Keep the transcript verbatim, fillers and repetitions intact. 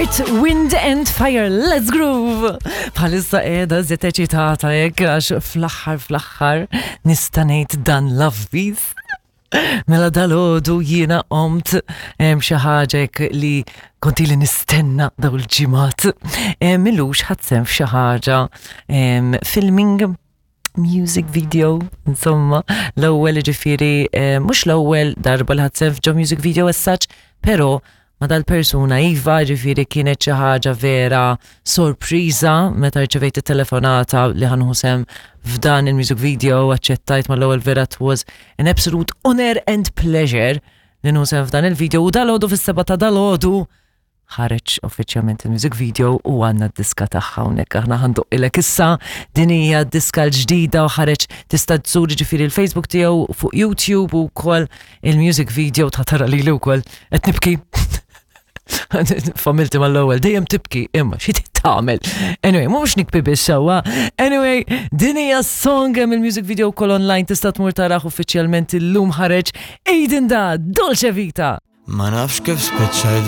Earth, Wind and Fire, let's groove! Bħalissa qiegħda żiet eċitata hekk għax fl-aħħar fl-aħħar nista' ngħid dan l-avviż. Mela dalgħodu jiena qomt xi ħaġa hekk li kont ili nistenna daw il-ġimgħat. M'ilux ħadt sehem f'xi ħaġa filming music video, insomma, l-ewwel ġifieri, mhux l-ewwel darba li ħadt sehem f'ġo music video as such, però ma dal-persuna iva, ġifieri kienet xi ħaġa vera sorpriża meta rċevejt it-telefonata li ħa nieħu sehem f'dan il-music video, aċċettajt mal-ewwel. Vera it was an absolute honor and pleasure li nieħu sehem f'dan il-video u dalgħodu fis-sebgħa ta' dalgħodu ħareġ uffiċjalment il-music video u għandna d-diska tagħha hawnhekk aħna ħa ndoqqilek issa. Din hija d-diska l-ġdida u ħareġ, tista' tżur ġifieri il-Facebook tiegħu fuq YouTube u wkoll il-music video ta' tara lili wkoll qed nibki. Familti mal-ewwel dejjem tibki, imma xi tagħmel? Anyway, mhux nibki biss sewwa. Anyway, din hija song, hemm il-music video wkoll online, tista' tmur taraħ. Uffiċjalment illum ħareġ Aiden da Dolce Vita. Ma nafx kif spiċċajt.